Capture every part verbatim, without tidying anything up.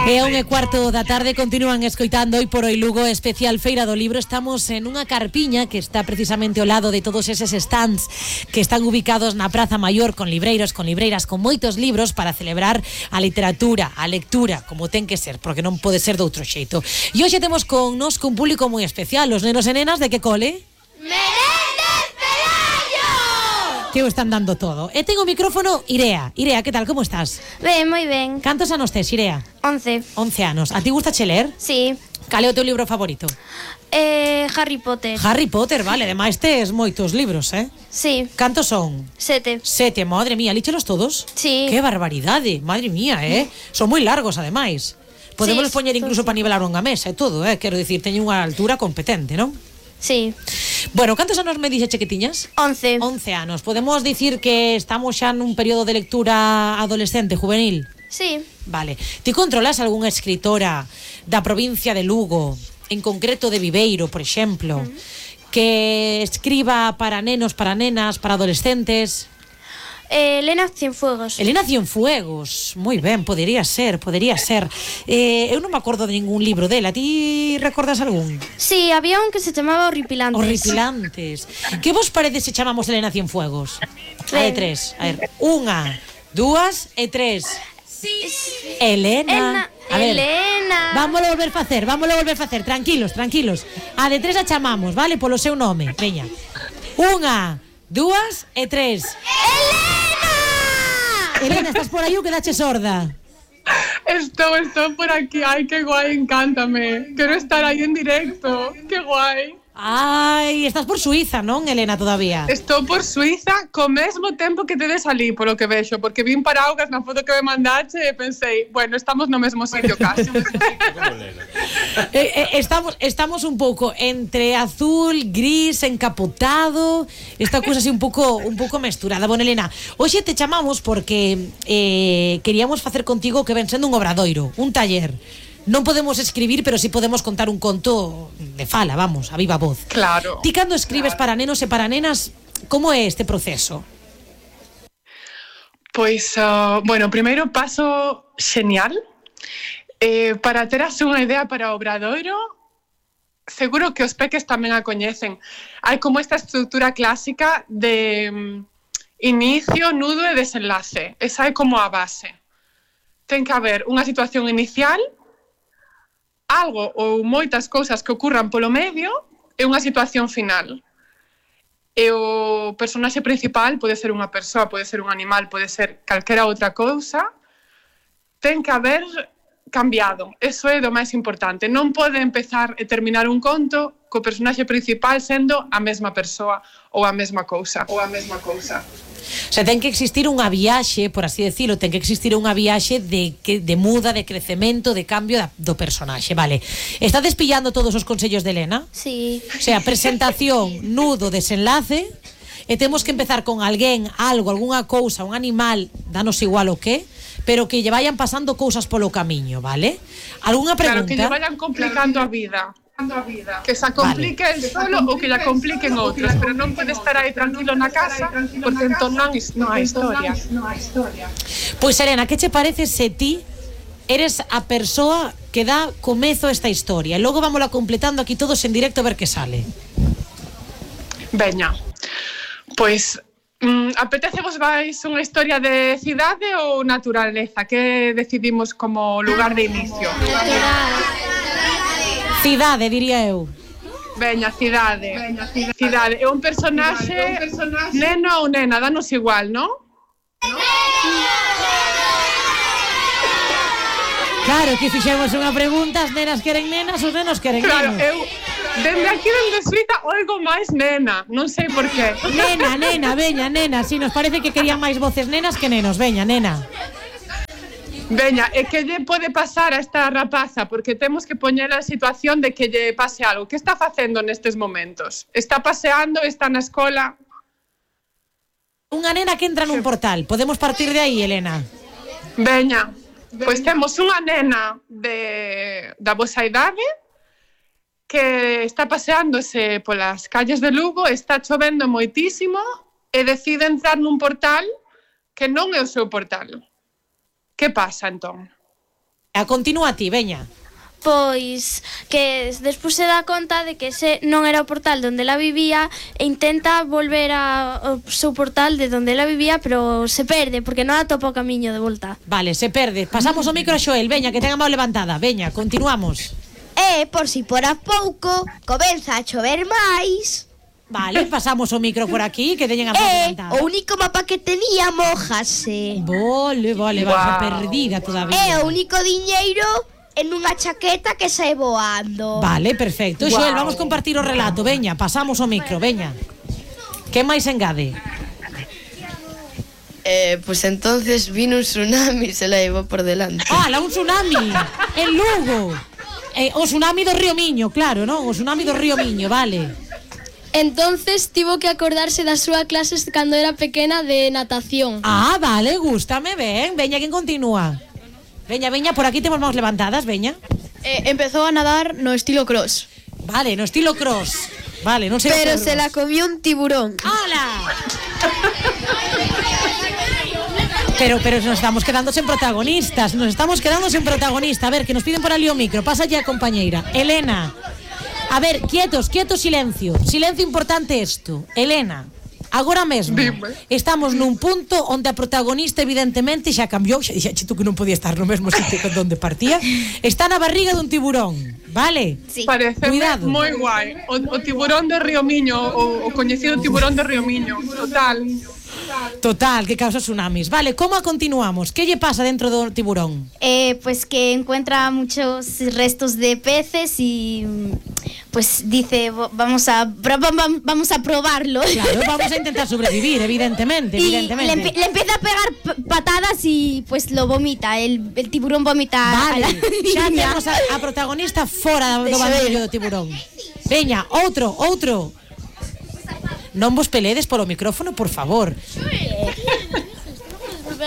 E a un e cuarto da tarde continúan escoitando Hoy por Hoy Lugo, especial Feira do Libro. Estamos en unha carpiña que está precisamente ao lado de todos eses stands que están ubicados na Praza Maior, con libreiros, con libreiras, con moitos libros para celebrar a literatura, a lectura, como ten que ser, porque non pode ser de outro xeito. E hoxe temos con nos un público moi especial, os nenos e nenas de que cole? ¡Menéndez Pelayo! Que o están dando todo. E ten o micrófono Irea. Irea, que tal, como estás? Ben, moi ben. Cantos anos tes, Irea? Once. Once anos. A ti gusta che ler? Sí. Cal é o teu libro favorito? Eh, Harry Potter. Harry Potter, vale. Ademais tes moitos libros, eh? Sí. Cantos son? Sete. Sete, madre mía, líchelos todos? Sí. Que barbaridade, madre mía, eh? Son moi largos, ademais. Podemos Sí, poñer incluso sí. para nivelar unha mesa e todo, eh? Quero dicir, teñen unha altura competente, non? Sí. Bueno, cantos anos me dixeche que tiñas? Once. Once anos. Podemos dicir que estamos xa nun período de lectura adolescente, juvenil? Sí. Vale. Ti controlas algunha escritora da provincia de Lugo, en concreto de Viveiro, por exemplo, uh-huh, que escriba para nenos, para nenas, para adolescentes? Eh, Elena Cienfuegos. Elena Cienfuegos, moi ben, podería ser, podería ser. Eh, eu non me acordo de ningún libro dela. Ti recordas algún? Sí, había un que se chamaba Horripilantes. Horripilantes. Que vos parece se chamamos Elena Cienfuegos? A de tres. A ver, unha, dúas e tres. Sí, sí. Elena. Elena. A ver, Elena. vámoslo volver facer, vámoslo volver facer. Tranquilos, tranquilos. A de tres a chamamos, vale? Polo seu nome. Veña. Unha, dúas e tres. Elena! Elena, estás por aí ou quedache sorda? Estou, estou por aquí. Ai, que guai, encántame. Quero estar aí en directo. Que guai. Ai, estás por Suiza, non, Elena, todavía? Estou por Suiza co mesmo tempo que tedes ali, polo que vexo, porque vin paraugas na foto que me mandache e pensei, bueno, estamos no mesmo sitio casi. eh, eh, estamos, estamos un pouco entre azul, gris, encapotado, esta cousa así un pouco un pouco mesturada. Bueno, Elena, hoxe te chamamos porque eh, queríamos facer contigo que ven sendo un obradoiro, un taller. Non podemos escribir, pero sí podemos contar un conto de fala, vamos, a viva voz. Claro. Ti cando escribes claro. para nenos e para nenas, como é este proceso? Pois, uh, bueno, primeiro paso xenial. Eh, para teras unha idea para o Obradoiro, seguro que os peques tamén a coñecen. Hai como esta estrutura clásica de um, inicio, nudo e desenlace. Esa é como a base. Ten que haber unha situación inicial, algo ou moitas cousas que ocurran polo medio e unha situación final. E o personaxe principal pode ser unha persoa, pode ser un animal, pode ser calquera outra cousa. Ten que haber cambiado. Eso é do máis importante. Non pode empezar e terminar un conto co personaxe principal sendo a mesma persoa ou a mesma cousa. Ou a mesma cousa. O sea, ten que existir unha viaxe, por así decirlo, ten que existir unha viaxe de, que, de muda, de crecemento, de cambio da, do personaxe, vale. Está despillando todos os consellos de Elena? Sí. O sea, presentación, nudo, desenlace, e temos que empezar con alguén, algo, algunha cousa, un animal, danos igual o que, pero que lle vayan pasando cousas polo camiño, vale? Algunha pregunta? Claro, que lle vayan complicando a vida. Que se complique vale. El solo ou que lla compliquen outros, pero non pode estar aí tranquilo na casa porque entón non, non hai historia. Pois, Elena, que che parece se ti eres a persoa que dá comezo a esta historia e logo vámola completando aquí todos en directo a ver que sale? Veña, pois mm, apetecevos vais unha historia de cidade ou naturaleza? Que decidimos como lugar de inicio? Cidade, diría eu. Veña, cidade. Veña, cidade. Cidade. É un personaxe, personaxe neno ou nena, danos igual, non? Claro, que fixemos unha pregunta, as nenas queren nenas, os nenos queren claro, nenos. Eu, dende aquí, dende Suiza, oigo máis nena, non sei por qué. Nena, nena, veña, nena, si nos parece que querían máis voces nenas que nenos, veña, nena. Veña, é que lle pode pasar a esta rapaza, porque temos que poñela en situación de que lle pase algo. Que está facendo nestes momentos? Está paseando, está na escola? Unha nena que entra nun portal. Podemos partir de aí, Elena? Veña, pois temos unha nena de, da vosa idade que está paseándose polas calles de Lugo, está chovendo moitísimo e decide entrar nun portal que non é o seu portal. Que pasa, entón? A continúa ti, veña. Pois que despois se dá conta de que ese non era o portal onde ela vivía e intenta volver ao seu portal de onde ela vivía, pero se perde porque non atopa o camiño de volta. Vale, se perde. Pasamos o micro a Xoel, veña, que ten a mão levantada. Veña, continuamos. E, por si por a pouco, comeza a chover máis. Vale, pasamos o micro por aquí, que teñen a mão E levantada. o único mapa que tenía mojase. Vale, vale, vas a perdida todavía. E o único diñeiro en unha chaqueta que sae voando. Vale, perfecto. Xoel, vamos compartir o relato. Veña, pasamos o micro, veña. Que máis engade? Eh, pues entonces vino un tsunami y se la llevó por delante. ¡Hala, un tsunami! En Lugo. Eh, o tsunami do Río Miño, claro, non? O tsunami do Río Miño, vale. Entonces tivo que acordarse das súas clases cando era pequena de natación. Ah, vale, gústame, ben. Veña, quen continúa? Veña, veña, por aquí temos mãos levantadas, veña. Eh, empezou a nadar no estilo cross. Vale, no estilo cross. Vale, non sei. Pero se la comió un tiburón. ¡Hala! Pero, pero nos estamos quedando sen protagonistas. Nos estamos quedando sen protagonista. A ver, que nos piden por ali o micro. Pasa ya, compañeira. Elena. A ver, quietos, quietos, silencio. Silencio importante esto. Elena. Agora mesmo Dime. estamos nun punto onde a protagonista evidentemente xa cambiou, xa dixaxe tú que non podía estar no mesmo sitio que onde partía. Está na barriga dun tiburón, vale? Sí. Parece Cuidado. moi guai. O, o tiburón de Río Miño, o, o coñecido tiburón de Río Miño. Total. Total, que causa tsunamis. Vale, como a continuamos? Que lle pasa dentro do tiburón? Eh, pues que encuentra muchos restos de peces y pues dice "Vo- vamos a pro- vam- vam- vamos a probarlo". Claro, vamos a intentar sobrevivir, evidentemente, Y evidentemente. le, empe- le empieza a pegar p- patadas y pues lo vomita, el, el tiburón vomita a la Vale, xa niña. temos a, a protagonista fora do bandollo do tiburón. Veña, outro, outro. Non vos peledes polo micrófono, por favor.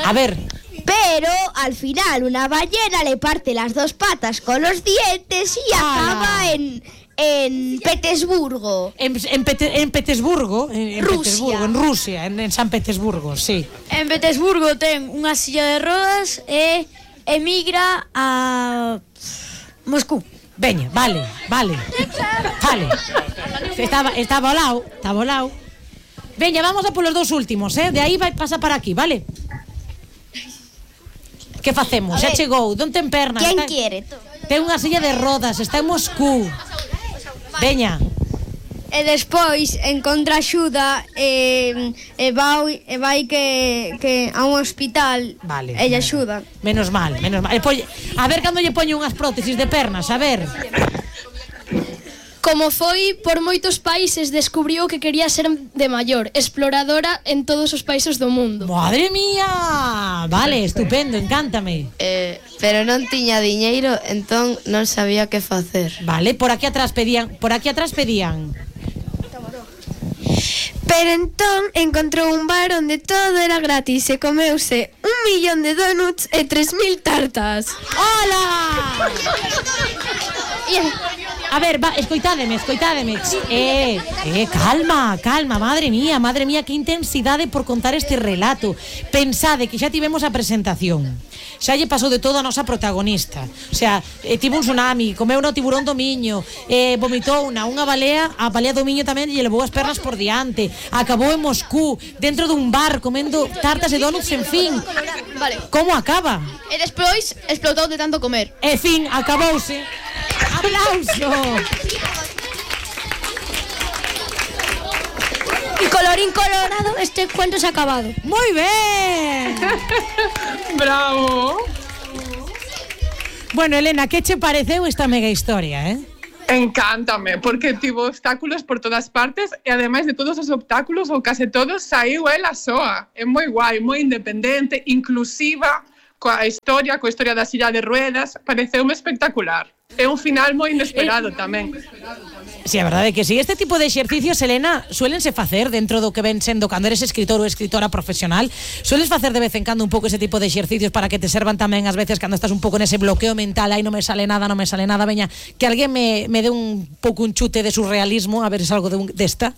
A ver, Pero al final una ballena le parte las dos patas con los dientes y ¡Hala! acaba en, en Petersburgo. en, en, Pete- en Petersburgo, en, en Rusia. Petersburgo, en Rusia, en, en San Petersburgo, sí. En Petersburgo ten unha silla de rodas e emigra a Moscú. Veña, vale, vale. Vale. Estaba, estaba ao lado, estaba ao lado. Veña, vamos a polos dos últimos, eh? De aí vai pasa para aquí, vale? Que facemos? Xa chegou, non ten pernas. ¿Quién está- quiere? Ten unha silla de rodas, está en Moscú. Veña. E despois encontra axuda e, e vai, e vai que, que a un hospital. Vale. E lle axuda. Menos mal, menos mal. E polle- a ver cando lle poño unhas prótesis de pernas, a ver. Como foi por moitos países, descubriu que quería ser de maior, exploradora en todos os países do mundo. Madre mía. Vale, estupendo, encántame. Eh, pero non tiña diñeiro, entón non sabía que facer. Vale, por aquí atrás pedían, por aquí atrás pedían. Pero entón encontrou un bar onde todo era gratis e comeuse un millón de donuts e tres mil tartas. ¡Hola! A ver, va, escoitádeme, escoitádeme. Eh, eh, calma, calma, madre mía, madre mía, que intensidade por contar este relato. Pensade que xa tivemos a presentación. Xa lle pasou de todo a nosa protagonista. O sea, eh, tivo un tsunami, comeu no tiburón do Miño, eh, vomitou unha, unha balea, a balea do Miño tamén lle levou as pernas por diante, acabou en Moscú, dentro dun bar, comendo tartas e donuts, en fin. Vale. Como acaba? E despois explotou de tanto comer. En fin, acabouse. ¡Aplauso! Y colorín colorado, este cuento se ha acabado. ¡Muy bien! Bravo. Bueno, Elena, que che pareceu esta mega historia, eh? Encántame, porque tivo obstáculos por todas partes e ademais de todos os obstáculos, ou case todos, saiu ela soa. É moi guai, moi independente, inclusiva, coa historia, coa historia da silla de ruedas, pareceume espectacular. É un final moi inesperado tamén. Si, sí, a verdade é que si. Este tipo de exercicios, Elena, suélense facer dentro do que ven sendo cando eres escritor ou escritora profesional. Sueles facer de vez en cando un pouco ese tipo de exercicios para que te servan tamén ás veces cando estás un pouco nese bloqueo mental, aí non me sale nada, non me sale nada, veña, que alguén me, me dé un pouco un chute de surrealismo, a ver se algo de un, desta.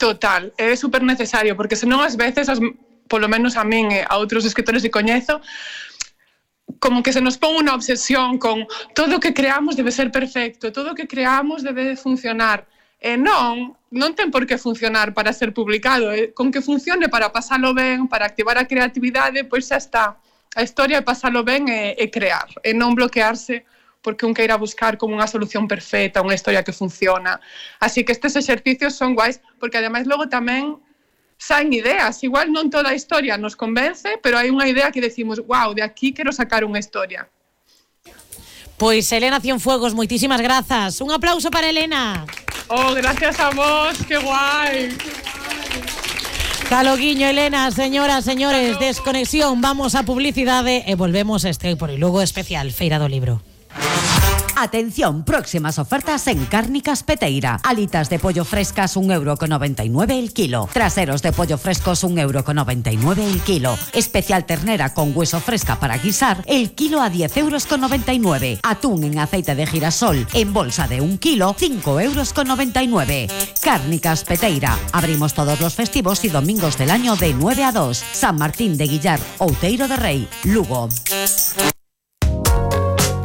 Total, é super necesario, porque senón ás veces, as, polo menos a min e a outros escritores que coñezo, como que se nos pon unha obsesión con todo o que creamos debe ser perfecto, todo o que creamos debe funcionar. E non, non ten por que funcionar para ser publicado. E con que funcione para pasalo ben, para activar a creatividade, pois xa está. A historia é pasalo ben e, e crear, e non bloquearse porque un queira buscar como unha solución perfecta, unha historia que funciona. Así que estes exercicios son guais, porque ademais logo tamén saen ideas. Igual non toda a historia nos convence, pero hai unha idea que decimos, wow, de aquí quero sacar unha historia. Pois Elena Cienfuegos, moitísimas grazas. Un aplauso para Elena. Oh, gracias a vos, que guai. Caloguiño, Elena, señoras, señores, desconexión, vamos a publicidade e volvemos a este Hoy por Hoy Lugo especial Feira do Libro. Atención, próximas ofertas en Cárnicas Peteira. Alitas de pollo frescas un euro con noventa y nueve el kilo. Traseros de pollo frescos un euro con noventa y nueve el kilo. Especial ternera con hueso fresca para guisar, el kilo a diez euros con noventa y nueve. Atún en aceite de girasol en bolsa de un kilo, cinco euros con noventa y nueve. Cárnicas Peteira. Abrimos todos los festivos y domingos del año de nueve a dos. San Martín de Guillar, Outeiro de Rei, Lugo.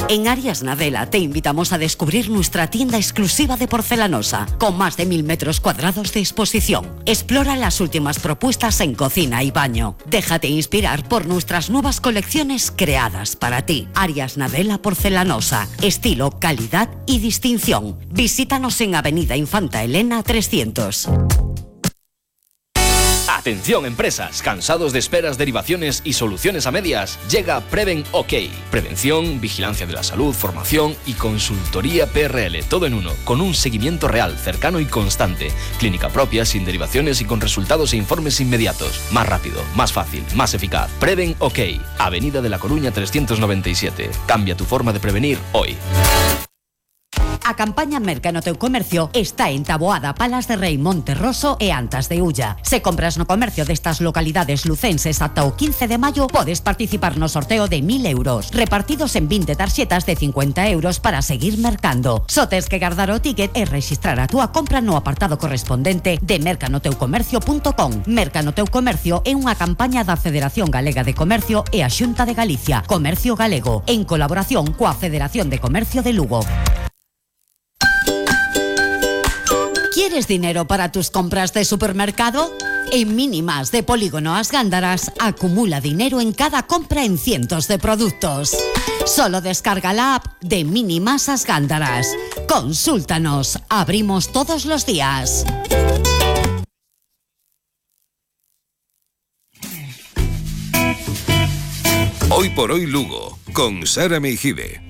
En Arias Nadela te invitamos a descubrir nuestra tienda exclusiva de porcelanosa, con más de mil metros cuadrados de exposición. Explora las últimas propuestas en cocina y baño. Déjate inspirar por nuestras nuevas colecciones creadas para ti. Arias Nadela Porcelanosa, estilo, calidad y distinción. Visítanos en Avenida Infanta Elena trescientos. Atención empresas, cansados de esperas, derivaciones y soluciones a medias, llega Preven OK. Prevención, vigilancia de la salud, formación y consultoría P R L, todo en uno, con un seguimiento real, cercano y constante. Clínica propia, sin derivaciones y con resultados e informes inmediatos. Más rápido, más fácil, más eficaz. Preven OK. Avenida de la Coruña trescientos noventa y siete. Cambia tu forma de prevenir hoy. A campaña Merca no teu comercio está en Taboada, Palas de Rei, Monterroso e Antas de Ulla. Se compras no comercio destas localidades lucenses ata o quince de maio, podes participar no sorteo de mil euros, repartidos en vinte tarxetas de cincuenta euros para seguir mercando. Só tes que guardar o ticket e registrar a túa compra no apartado correspondente de merca no teu comercio punto com. Merca no teu comercio é unha campaña da Federación Galega de Comercio e a Xunta de Galicia, Comercio Galego, en colaboración coa Federación de Comercio de Lugo. ¿Quieres dinero para tus compras de supermercado? En Mínimas de Polígono As Gándaras acumula dinero en cada compra en cientos de productos. Solo descarga la app de Mínimas As Gándaras. Consúltanos, abrimos todos los días. Hoy por Hoy Lugo, con Sara Meijide.